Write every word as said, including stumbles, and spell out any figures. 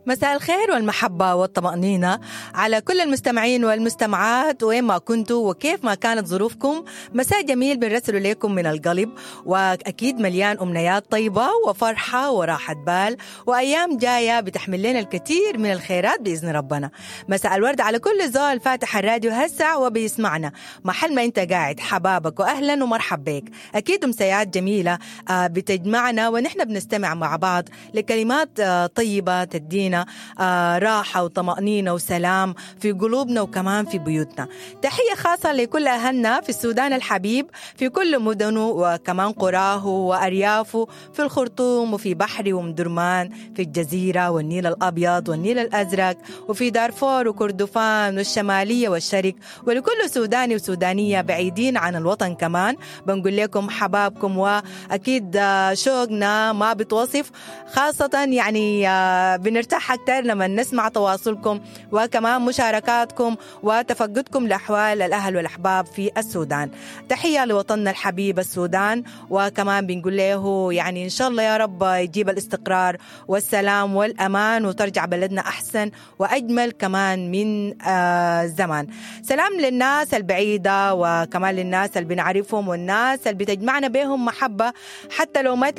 مساء الخير والمحبة والطمأنينة على كل المستمعين والمستمعات وين ما كنتوا وكيف ما كانت ظروفكم. مساء جميل بنرسله لكم من القلب، وأكيد مليان أمنيات طيبة وفرحة وراحة بال وأيام جاية بتحمل لنا الكثير من الخيرات بإذن ربنا. مساء الورد على كل زول فاتح الراديو هسع وبيسمعنا محل ما انت قاعد، حبابك وأهلا ومرحب بك. أكيد أمسيات جميلة آه، بتجمعنا ونحن بنستمع مع بعض لكلمات آه، طيبة تدينا آه، راحة وطمأنينة وسلام في قلوبنا وكمان في بيوتنا. تحية خاصة لكل أهلنا في السودان الحبيب في كل مدنه وكمان قراه وأريافه، في الخرطوم وفي بحري ومدرمان، في الجزيرة والنيل الأبيض والنيل الأزرق، وفي دارفور وكردفان والشمالية والشرق، ولكل سوداني وسودانية بعيدين عن الوطن كمان بنقول لكم حبابكم، وأكيد آه، شوقنا ما بتوصف، خاصة يعني آه، بنرتاح أكثر لما نسمع تواصلكم وكمان مشاركاتكم وتفقدكم لأحوال الأهل والأحباب في السودان. تحية لوطننا الحبيب السودان، وكمان بنقول له يعني إن شاء الله يا رب يجيب الاستقرار والسلام والأمان وترجع بلدنا أحسن وأجمل كمان من آه زمان. سلام للناس البعيدة وكمان للناس اللي بنعرفهم والناس اللي بتجمعنا بهم محبة حتى لو ما تلاقي